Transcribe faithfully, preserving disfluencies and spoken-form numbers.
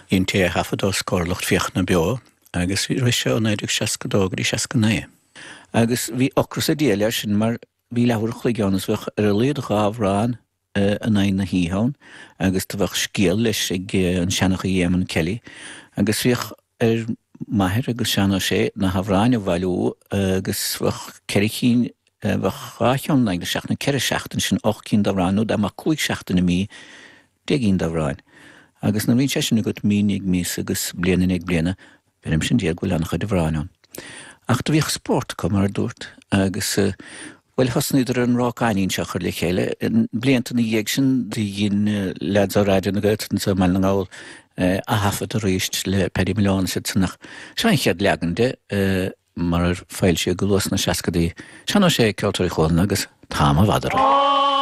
Dheintí é a thaifead os comhair lucht féachana beo agus rith sé ó naoi déag seasca dó go dtí seasca naoi. Agus bhí ocras an diabhail air sin mar bhí leathuair a chloig ann is bheadh ar a laghad dhá amhrán in aghaidh na hoíche ann agus do bheadh scéal leis ag an seanchaí Éamonn Kelly agus bhíodh ar m'athair agus Seán Ó Sé na hamhráin a bhailiú agus bheadh ceithre cinn, bheadh dhá cheann in aghaidh na seachtaine, ceithre seachtain, sin ocht gcinn d'amhráin nó dá mbeadh cúig seachtain i mí, deich gcinn d'amhráin. Agus nuair a bhíonn sé sin agat mí i ndiaidh míosa agus bliain i ndiaidh bliana, beirimse an Dia go bhfuil an-chuid amhráin ann. Ach do bhíodh spórt acu, mar a dúrt, agus, bhuel, thosnaíodar ar an rác-ainín seo a chur le chéile. Blianta ina dhiaidh sin, do dhein leaids ó Raidió na Gaeltachta anso i mBaile na nGall aththaifead arís le Paddy Malone is iad san ach seo an chéad leagan de, mar ar foilsíodh go luath sna seascadaí. Seán Ó Sé, Ceoltóirí Chualann agus T-am i bhfad orainn.